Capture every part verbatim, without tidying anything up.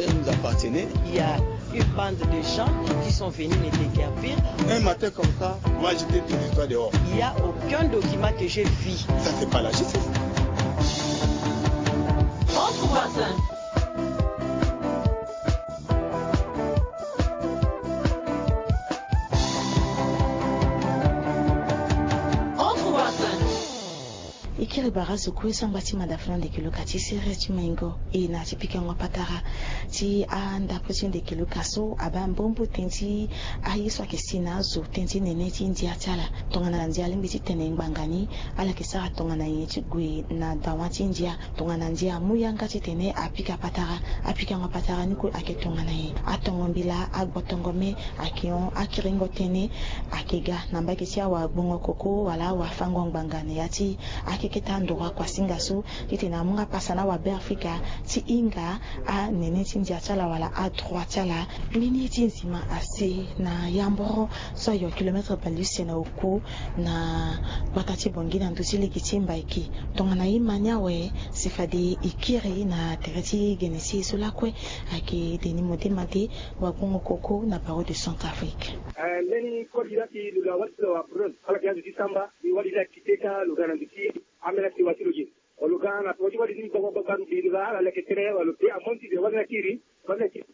Nous appartenait. Il y a une bande de gens qui sont venus me déguerpir. Un matin comme ça, moi j'étais tout l'histoire dehors. Il y a aucun document que j'ai vu. Ça, c'est pas la justice. Entre voisins. Entre voisins. E kiri bara zo kue sangba ti mada fana ndeke lo ka ti sere ti maingo e na ti pikango patara ti andapo ti ndeke lo ka so abaa mbombo ten ti aye so ayeke si na azo ten ti nene ti ndia ti ala. Tongana ndia alingbi ti tene ngbanga ni, ala yeke sara tongana nyen ti gue na dawa ti ndia. Tongana ndia amu yanga titene apika patara, apikango patara ni kue ayeke tongana nyen? Atongo mbila, agbo tongo me, ayeke hon akiringo tënë. Ayeke ga na mbage ti awagbongo koko wala awafango ngbanga na ya ti akeketa ndoro akuasinga so titene amu nga pasa na wabeafrika ti hinga anene ti ndia ti ala wala adroit ti ala. Mbeni ye ti nzima asi na yamboro so ayo kilometre bale use na oko na gbata ti Bangui na ndö ti lege ti Mbaïké. Tongana e ma ni awe, si fade e kiri na tere ti gene ti e so lakue. Ayeke Denis Modema de, wagbongo koko na Barreau de Centrafrique. Eh, mbeni koli laa si lo ga wali ti lo wa preuve ala yeke azo ti samba. E wali laa kite ka lo ga na ndö ti ambeni asewa ti lo ge. Lo ga na tongana ti wali ni gbagba gbagba lo ge lo ga ala leke tënë wala lo te amonti de wali ni akiri. Wali ni akiri.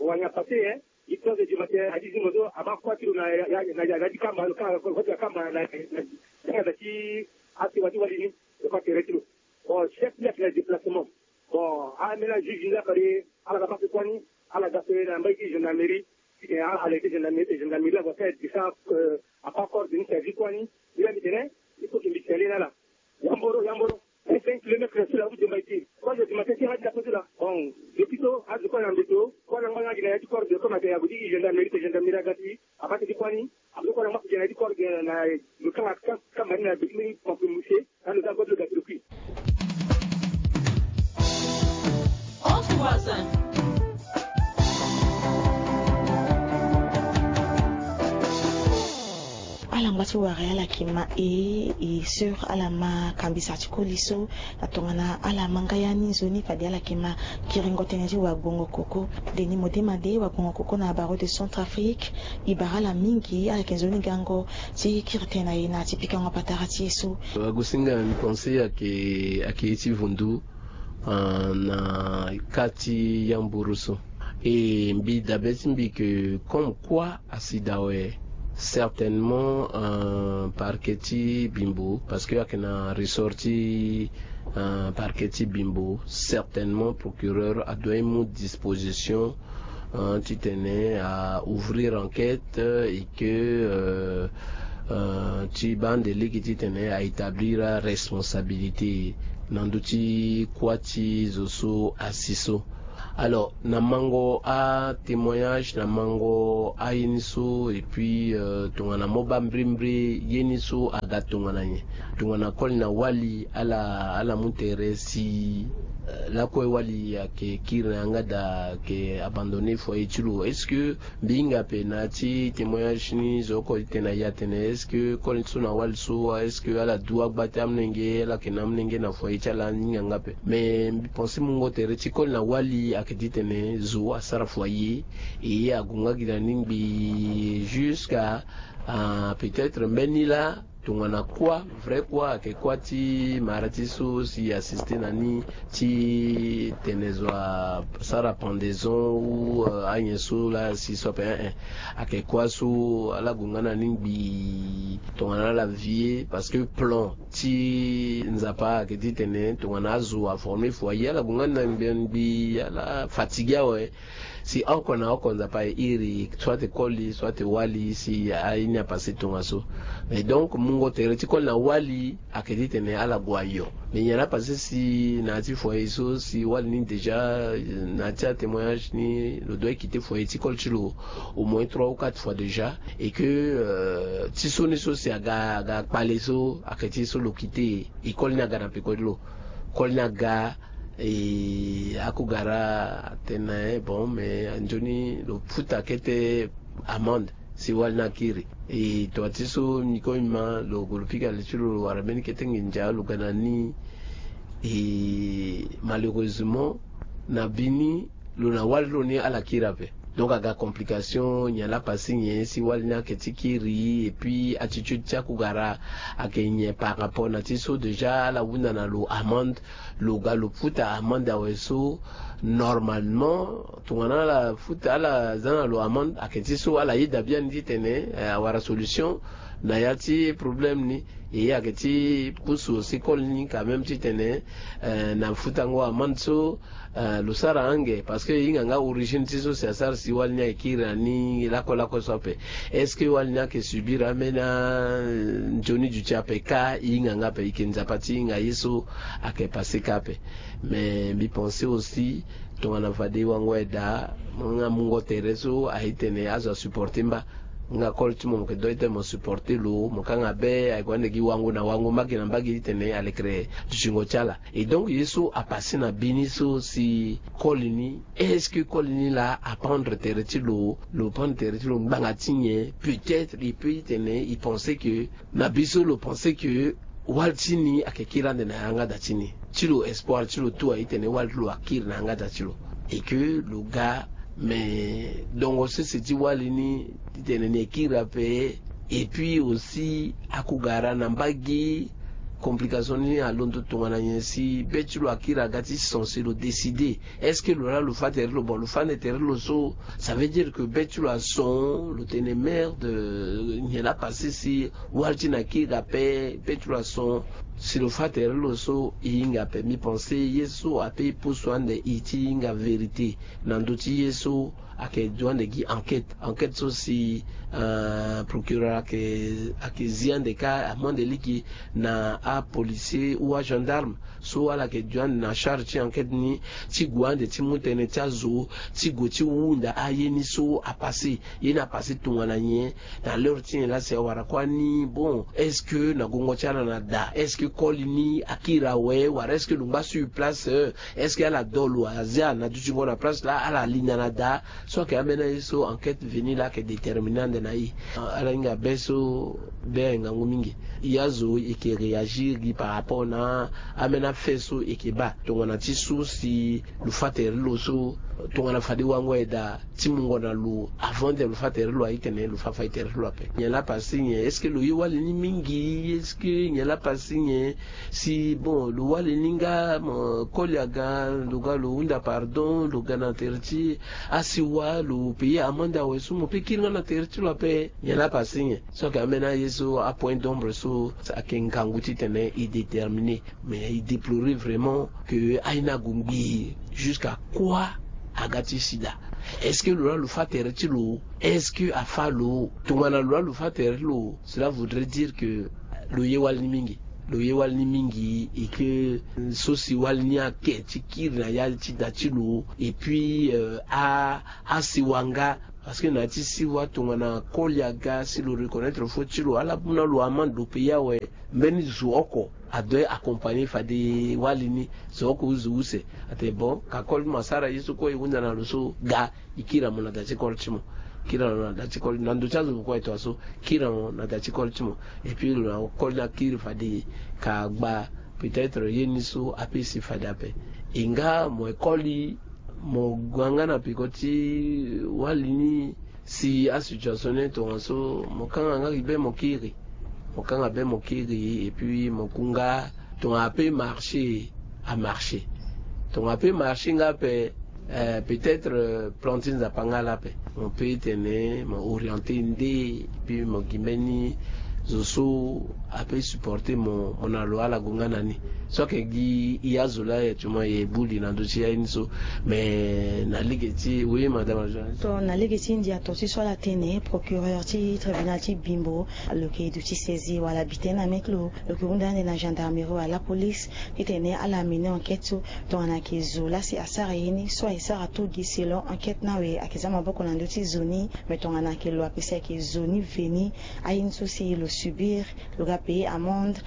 Wali ni apase, eh. Histoire de du matin, à dix heures moto abaa kuâ ti lo na ya na ya na ya ti kamba lo kanga koli ti akamba na na na na ti asewa ti wali ni. Lo kâ tere ti lo. Bon, chef ni ayeke na déplacement. Bon, ambeni ajuge ni la fade ala ga baa so kuâ ni. Ala ga so na mbage ti gendarmerie. Titene ala arrêter gendarmerie, gendarmerie la va faire descente. Apart corps de ni service kuâ ni. Ni la mbi tene il faut que mbi tene na ala. Yamboro yamboro. Cinq kilomètres sur la route de Mbaïké. Trois heures du matin ti nga ti da kote la. Bon, depuis so azo kue na mbeto kue na ngba nga gi na ya ti corps de comme ake ago ti gendarmerie te gendarmerie aga ti abaa ti kuâ ni. Azo kue na ngba gi na ya ti corps de na lo kanga kamba ni na beti mbeni pamplemousse. Ando za godo gati lo kui. Entre voisins. Ala ngba ti wara ala yeke ma e e sur ala ma kambisa ti koli so. Na tongana ala ma nga ya ni nzoni fade ala yeke ma kiringo tënë ti wagbongo koko. Denis Modema de, wagbongo koko na Barreau de Centrafrique. E bara ala mingi, ala yeke nzoni gango ti kiri tënë na e na ti pikango patara ti e so. Wagosinga, mbi pense ayeke ayeke ye ti vundu na ka ti yamboro so. E mbi dabe ti mbi ke comme quoi asi daa awe, certainement parquet ti Bimbo, parce que ayeke na ressort ti parquet ti Bimbo, certainement procureur adoit mu disposition titene a ouvrir enquête et que ti baa ande lege titene a établir aresponsabilité na ndö ti kuâ ti zo so asi so. Alors na mango atémoignage, na mango aye ni so, et puis tongana mo baa mbrimbri ye ni so aga tongana nyen? Tongana koli na wali ala ala mu tere si lakue wali ayeke kiri na yanga daa, ayeke abandonner foyer ti lo? Est-ce que mbi hinga ape na ya ti témoignage ni zo oko ti tene na e atene est-ce que koli so na wali so, est-ce que ala du agba ti amolenge, ala yeke na amolenge na foyer ti ala? Ni hinga nga ape. Mais mbi pense mungo tere ti koli na wali ayeke ti tene zo asara foyer. E ague nga gi na ni ngbii jusqu'à peut-être mbeni laa tongana kuâ, vrai kuâ, ayeke kuâ ti mara ti so si e assiste na ni ti tene zo asara pendaison ou anyen so laa si so ape, eh eh. Ayeke kuâ so ala gue nga na ni ngbii tongana ala vie parce que plan ti Nzapa ayeke ti tene tongana azo aformer foyer, ala gue nga na ngbii ngbii, ala fatigué awe. Si oko na oko Nzapa aye iri, soit koli soit wali, si aye ni apassé tongaso. Mais donc mungo tere ti koli na wali ayeke ti tene ala gue ayo. Mais nyen la passé si na ya ti foyer so si wali ni déjà na ya ti atémoignage ni lo doit quitté foyer ti koli ti lo au moins trois ou quatre fois déjà, et que ti so ni so si aga aga kpale so ayeke ti so lo quitté, e koli ni aga na peko ti lo. Koli ni aga, e akugara atene na e bon, mais anzoni lo futa kete amende si wali ni akiri. E tonga ti so mbi ko mbi ma lo gue lo pika li ti lo, lo wara mbeni kete nginza, lo ga na ni. E malheureusement na bini Lo na wali ti lo ni ala kiri ape. Donc aga complication nyen laa pasi nyen si wali ni ayeke ti kiri, et puis attitude ti akugara ayeke nyen par rapport na ti so déjà ala hunda na lo amende. Lo ga lo futa amende awe so, normalement tongana ala futa ala za na lo amende ayeke ti so ala yeda biani titene awara solution na ya ti problème ni. E ayeke ti pusu aussi koli ni quand même titene na futango amende so lo sara ange, parce que e hinga nga origine ti so si asara si wali ni ayeke kiri na ni lakue lakue so ape. Est-ce que wali ni ayeke subir ambeni anzoni duti ape? Ka e hinga nga ape, e yeke nzapa ti hinga ye so ayeke pase ka ape. Mais mbi pense aussi tongana fade e wango aye daa, nga mungo tere so aye tene azo asupporte mba. Nga koli ti mo mo yeke dua titene mo supporte lo, mo kanga be ayeke wande gi wango na wango, mbage na mbage titene alekere dutingo ti ala. Et donc ye so apase na bini so si koli ni, est-ce que koli ni laa aprendre tere ti lo? Lo prendre tere ti lo ngbanga ti nyen? Peut-être e peut titene e pense que na bi so lo pense que wali ti ni ayeke kiri ande na yanga da ti ni. Ti lo espoir ti lo tout aye titene wali ti lo akiri na yanga da ti lo. Et que lo ga, mais dongo sese ti wali ni titene ni ekiri ape. Et puis aussi akugara na mbage complication ni alondo tongana nyen si be ti lo akiri aga ti son si lo décider. Est-ce que lo laa lo fa tere ti lo? Bon, lo fa ande tere ti lo so, ça veut dire que be ti lo ason, lo tene merde, nyen laa pase si wali ti ni akiri ape, be ti lo ason. Si lo fa tere ti lo so e hinga ape. Mbi pense ye so ape e pusu ande e ti hinga vérité na ndö ti ye so ayeke dua ande gi enquête. Enquête so si procureur ayeke zi ande ka amu ande lege na apolicier ou agendarme so ala yeke dua ande na charge ti enquête ni, ti gue ande ti mu tënë ti azo, ti gue ti hunda aye ni so apase. Ye ni apase tongana nyen? Na l'heure ti nyen laa si awara kua ni? Bon, est-ce que na gongo ti ala na da? Est-ce que koli ni akiri awe? Wala est-ce que lo ngba sur place? Est-ce que ala do lo azia na dutingo na place laa ala linda na da? So ayeke ambeni aye so enquête veni laa ayeke déterminer ande na e. Ala hinga be so be aye ngangu mingi. E azo e yeke réagir gi par rapport na ambeni afait so e yeke baa tongana ti so si lo fa tere ti lo so, tongana fade wango aye daa ti mungo na lo avant ti lo fa tere ti lo aye titene lo fa fa e tere ti lo ape. Nyen laa pase nyen? Est-ce que lo ye wali ni mingi? Est-ce que nyen laa pase nyen? Si bon lo wali ni nga mo koli aga, lo ga lo hunda pardon, lo ga na tere ti asiwa, lo payer amende awe so mo pe kiri nga na tere ti lo ape. Nyen laa pase nyen? So ayeke ambeni aye so apoint d'ombre so ayeke ngangu titene e déterminer. Mais e déplorer vraiment que aye ni ague ngbii. Jusqu'à quoi aga ti si daa? Est-ce que lo laa lo fa tere ti lo? Est-ce que afa lo? Tongana lo laa lo fa tere ti lo, cela voudrait dire que lo ye wali ni mingi. Lo ye wali ni mingi et que so si wali ni ayeke ti kiri na ya ti da ti lo. Et puis a asiwa nga, parce que na ya ti siwa tongana koli aga si lo reconnaître faute ti lo, ala mu na lo amende, lo payer awe. Mbeni zo oko adoit accompagner fade wali ni. Zo oko zo use. Atene bon, ka koli ti mo asara ye so kue e hunda na lo so, ga e kiri na mo na da ti koli ti mo. Kiri na mo na da ti koli, na ndö ti azo kue e to aso, kiri na mo na da ti koli ti mo. Et puis lo na koli ni akiri fade ka gba. Peut-être ye ni so ape si fade ape. E nga mo ye koli, mo gue nga na peko ti wali ni. Si asituation ni tongaso, mo kanga nga gi be mo kiri. Mo kanga be mo kiri et puis mo ku nga. Tongana ape marché, amarché. Tongana ape marché nga ape, peut-être plan ti Nzapa nga laa ape. Mo pe tene mo orienter nde, et puis mo gi mbeni zo so ape supporter mo, mo na lo ala gue nga na ni. So ayeke gi e azo laa e actuellement e buli na ndö ti aye ni so. Mais na lege ti, oui madame la journaliste. To na lege ti Ndia to ti so ala tene procureur ti tribunal ti Bimbo, lo yeke duti saisie wala bulletin na mairie, lo yeke hunda ande na gendarmerie wala la police titene ala mener enquête so tongana ayeke zo laa si asara ye ni so aye sara to gi selon enquête ni awe ayeke za maboko na ndö ti zo ni. Mais tongana ayeke lo ape si ayeke zo ni veni, aye ni so si lo subir, lo ga payer amende.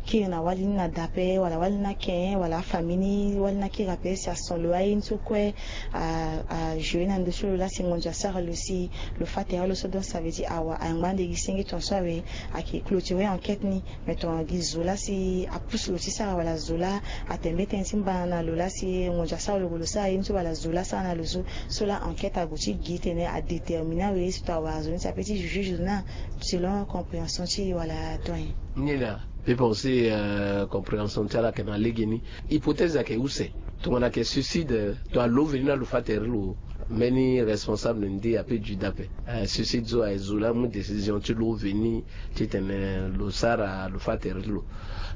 Kiri na wali ni na da ape wala wali ni na ken wala afamille ni wali ni akiri ape si ason lo aye ni so kue. Ajouer na ndo so lo laa si ngonzo asara lo si lo fâ tere lo so. Donc ça veut dire awa angba ande gi senge tongaso awe. Ayeke clôturer enquête ni. Mais tongana gi zo laa si apousse lo ti sara wala zo laa atene mbeni tënë ti mbana na lo laa si ngonzo asara lo lo sara ye ni so wala zo laa asara na lo so. So laa enquête ague ti gi tene adéterminer awe ye so tongana wara zo ni si ape ti juger zo ni. Selon compréhension ti e wala doyen? Ni na pe penser compréhension ti ala ayeke na lege ni. Hypothèse ayeke use? Tongana ayeke suicide, tongana lo veni na lo fâ tere lo, mbeni responsable nde ape du da ape? Suicide so aye zo laa amu décision ti lo veni titene lo sara lo fâ tere ti lo.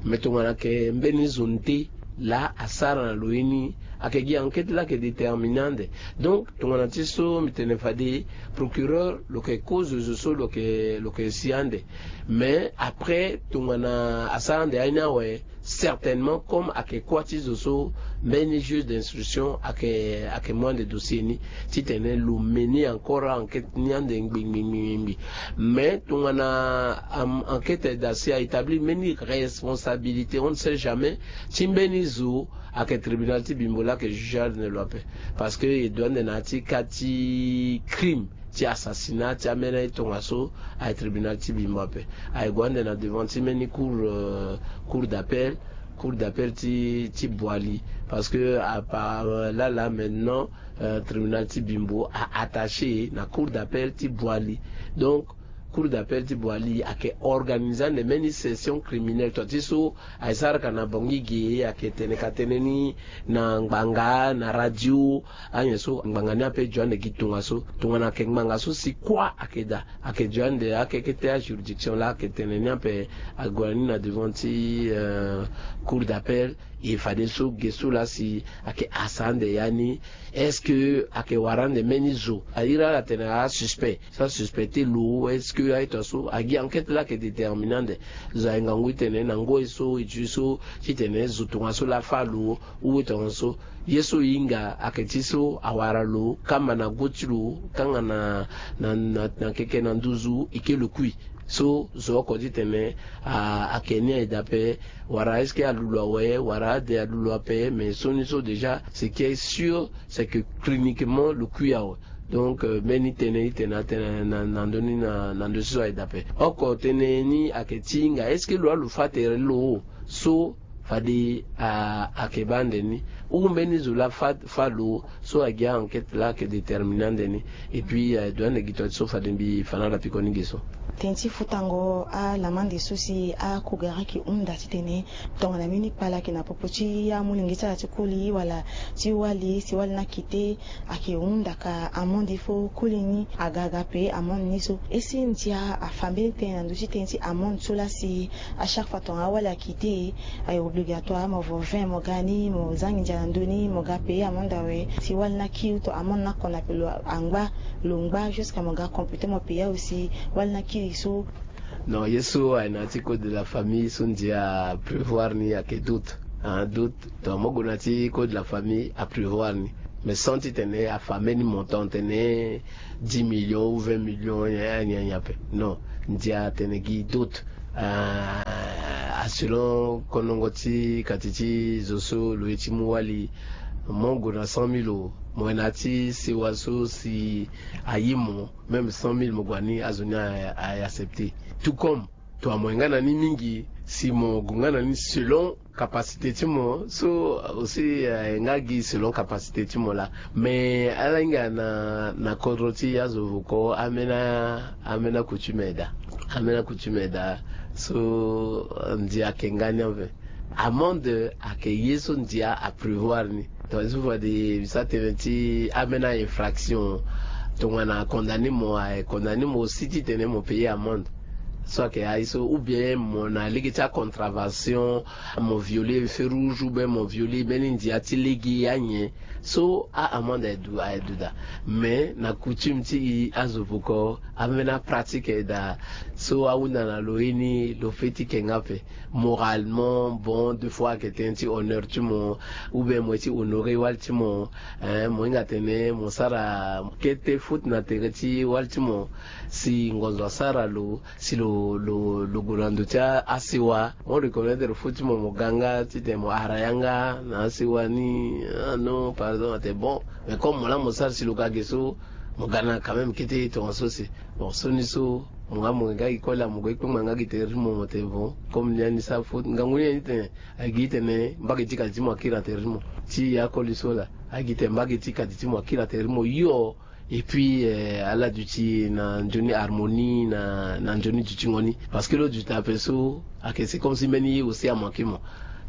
Mais tongana ayeke mbeni zo nde laa asara na lo ye ni, ayeke gi enquête laa ayeke déterminer ande. Donc tongana ti so mbi tene fade procureur lo yeke kozo zo so lo yeke lo yeke si ande. Mais après tongana asara ande aye ni awe, certainement comme ayeke kuâ ti zo so, mbeni juge d'instruction ayeke ayeke mu ande dossier ni titene lo meni encore enquête ni ande ngbi ngbi ngbi ngbi. Mais tongana enquête daa si a établir mbeni responsabilité, on ne sait jamais, ti mbeni zo, ayeke tribunal ti bimbo laa ayeke juger ande lo ape. Parce que e du ande na ya ti cas ti crime ti assassinat ti ambeni aye tongaso, aye tribunal ti bimbo ape. Aye gue ande na devant ti mbeni cour, cour d'appel, cour d'appel ti ti Boali. Parce que à part laa laa maintenant, tribunal ti bimbo a attaché na cour d'appel ti Boali. Donc cour d'appel ti Boali ayeke organiser ande mbeni session criminelle. Tonga ti so aye sara ka na Bangui-Gueye, ayeke tene ka tene ni na ngbanga na radio. Anyen so ngbanga ni ape e du ande gi tongaso. Tongana ayeke ngbanga so si kuâ ayeke daa, ayeke du ande akekete ajuridiction laa ayeke tene ni ape. Ague na ni na devant ti cour d'appel. E fadeso ge so laa si ayeke asa ande ya ni, est-ce que ayeke wara ande mbeni zo? Aye iri ala tene asuspect, so asuspecter lo, est-ce que aye tongaso? Agi enquête laa ayeke déterminer ande. Zo aye ngangu titene na ngoi so e du so titene zo tongaso laa afâ lo, ou tongaso. Ye so e hinga ayeke ti so awara lo kamba na go ti lo kanga na na na keke na nduzu e ke lo kui. So zo oko titene ayeke ni aye daa ape. Wala est-ce que alu lo awe, wala ade alu lo ape? Mais sioni so déjà ce qui est sûr, c'est que cliniquement lo kui awe. Donc mbeni tënë e tene atene na ndö ni na ndö ti so aye daa ape. Oko tënë ni ayeke ti hinga est-ce que lo laa lo fâ tere lo so fade ayeke baa ande ni, ou mbeni zo laa fâ lo so aye gi a-enquête laa ayeke déterminer ande ni. Et puis aye du ande gi tonga ti so fade mbi fa na ala piko ni ge so. Tënë ti futango alamande so si akogara ayeke hunda titene tongana mbeni kpale ayeke na popo ti amolenge ti ala ti koli wala ti wali si wali ni akite, ayeke hunda ka amende fo koli ni aga aga payer amende ni so. Ese ndia afa mbeni tënë na ndö ti tënë ti amende so laa si à chaque fois tongana awali akite, aye obligatoire mo vo vingt mo ga ni mo zangi ndia na ndö ni mo ga payer amende awe. Si wali ni akiri to amende ni akona pe lo angba lo ngba jusqu'à mo ga computer mo payer aussi wali ni akiri so. Non, ye so aye na ya ti code de la famille so ndia aprévoir ni ayeke doute. Doute. Donc mo gue na ya ti code de la famille aprévoir ni, mais sans titene afa mbeni montant tene dix millions ou vingt millions nyen nyen ape. Non, ndia atene gi doute. A selon konongo ti kati ti zo so lo ye ti mu wali, mo gue na cent mille o, mo ye na ya ti sewa so si aye mo, même cent mille mo gue na ni azo ni a accepter. Tout comme tongana mo ye nga na ni mingi, si mo gue nga na ni selon capacité ti mo so aussi aye nga gi selon capacité ti mo laa. Mais ala hinga na na kodro ti azo voko ambeni ambeni coutume aye daa. Ambeni coutume aye daa. So ndia ayeke nga ni anve. Amende ayeke ye so ndia aprévoir ni. Tongana so fade mbi sara tënë ti ambeni infraction, tongana condamner mo aye condamner mo aussi titene mo payer amende. So ayeke aye so ou bien mo na lege ti acontravation, mo violer feu rouge ou bien mo violer mbeni ndia ti lege anyen. So a-amende aye du aye du daa. Mais na coutume ti e azo voko ambeni apratique aye daa. So ahunda na lo ye ni lo feti ke nga ape. Moralement bon, deux fois ayeke tënë ti honneur ti mo, ou bien mo ye ti honorer wali ti mo. Mo hinga tene mo sara kete faute na tere ti wali ti mo. Si ngonzo asara lo si lo lo lo gue na ndo ti a- asewa, mo reconnaître faute ti mo, mo ga nga titene mo ara yanga na asewa ni. Ah non, par exemple, atene bon, mais comme mo laa mo sara si lo ga ge so, mo ga na quand même kete tongaso si. Bon, so ni so mo nga mo nga gi kue laa, mo gue kpengba nga gi tere ti mo, mo tene bon, comme ni ani sara faute, ngangu ni ani tene, agi tene mbage ti kati ti mo akiri na tere ti mo. Ti akoli so laa, agi tene mbage ti kati ti mo akiri na tere ti mo hio. Et puis ala duti na nzoni harmonie na na nzoni dutingo ni, parce que lo duti ape so, ayeke c'est comme si mbeni ye aussi amanke mo.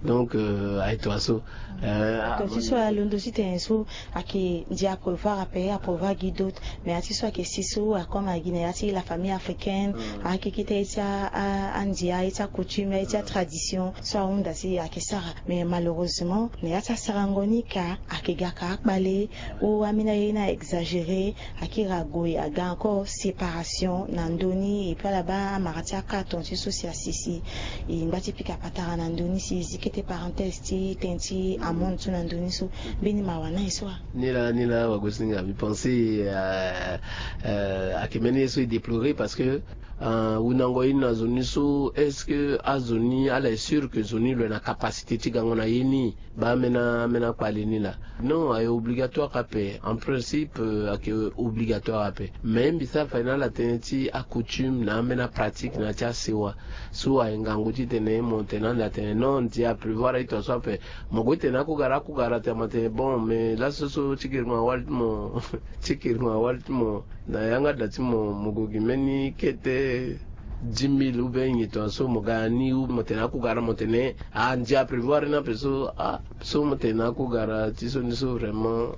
Donc aye tongaso. Tongaso so alondo titene so ayeke ndia aprévoir ape, aprévoir gi d'autres, mais ya ti so ayeke si so akoma gi na ya ti la famille africaine, ayeke kete ye ti a- a- andia, ye ti acoutume, ye ti atradition so ahunda si ayeke sara. Mais malheureusement na ya ti asarango ni ka ayeke ga ka akpale. O ambeni aye ni a exagéré, akiri ague aga encore séparation na ndö ni, et puis ala baa amara ti akaton ti so si asi si e ngba ti pika patara na ndö ni si e zi kete parenthèse ti tënë ti amonde so na ndö ni so. Mbeni mawa na e so a? Ni laa ni laa wagosinga, mbi pense ayeke mbeni ye so e déplorer parce que wundango ye ni na zo ni so, est-ce que azo ni ala est sûr que zo ni lo yeke na capacité ti gango na ye ni? Baa ambeni ambeni akpale ni laa. Non, ayeke obligatoire ape. En principe ayeke obligatoire ape, mais mbi sara fade na ala tënë ti acoutume na ambeni apratique na ya ti asewa. So ayeke ngangu titene mo tene ande atene non, ndia aprévoir aye tongaso ape. Mo gue tene akugara akugara atene mo tene bon, mais laso so ti kiri mo awali ti mo ti kiri mo awali ti mo na yanga da ti mo, mo gue gi mbeni kete dix mille ou bien nyen tongaso, mo ga na ni ou mo tene akugara mo tene ah, ndia aprévoir ni ape so ah. So mo tene akugara ti so ni so vraiment,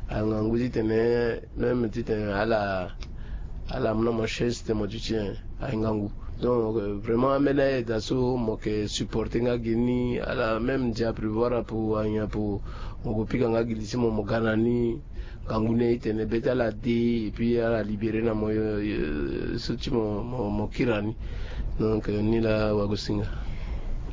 ayeke ngangu titene même titene ala ala mu na mo chaise titene mo duti nyen. Ayeke ngangu. Donc vraiment ambeni aye daa so mo yeke supporter nga gi ni, ala même ndia aprévoir ape, anyen ape, mo gue pika nga gi li ti mo, mo ga na ni. Ngangu ni aye titene be ti ala de, et puis ala libérer na mo so ti mo mo kiri na ni. Donc ni laa wagosinga.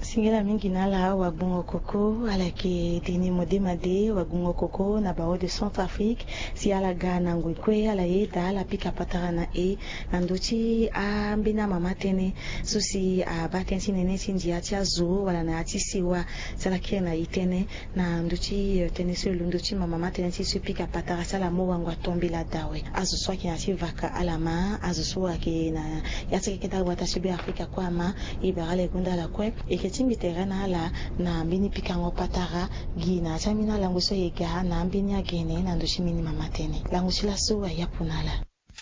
Singila mingi na ala wagbongo koko, ala yeke deni modema de wagbongo koko na baro de Centrafrique. Si ala ga na ngoi kue ala yeda ala pika patara na e na ndö ti ambeni amama tënë so si abaa tënë ti nene ti ndia ti azo wala na ya ti sewa. Si ala kiri na e tënë na ndö ti tënë so e londo ti mama ma tënë ti so e pika patara, si ala mu wango atombela dawe. Azo so ayeke na ya ti vaka ala ma, azo so ayeke na ya ti keke ndali gbata ti Be Afrika kue ama. E bara ala e gonda ala kue, e yeke tingbi tere na ala na mbeni pikango patara gi na ya ti ambeni alango so e ga na ambeni agene na ndö ti mbeni mama tënë. Lango ti laso ayapu na ala.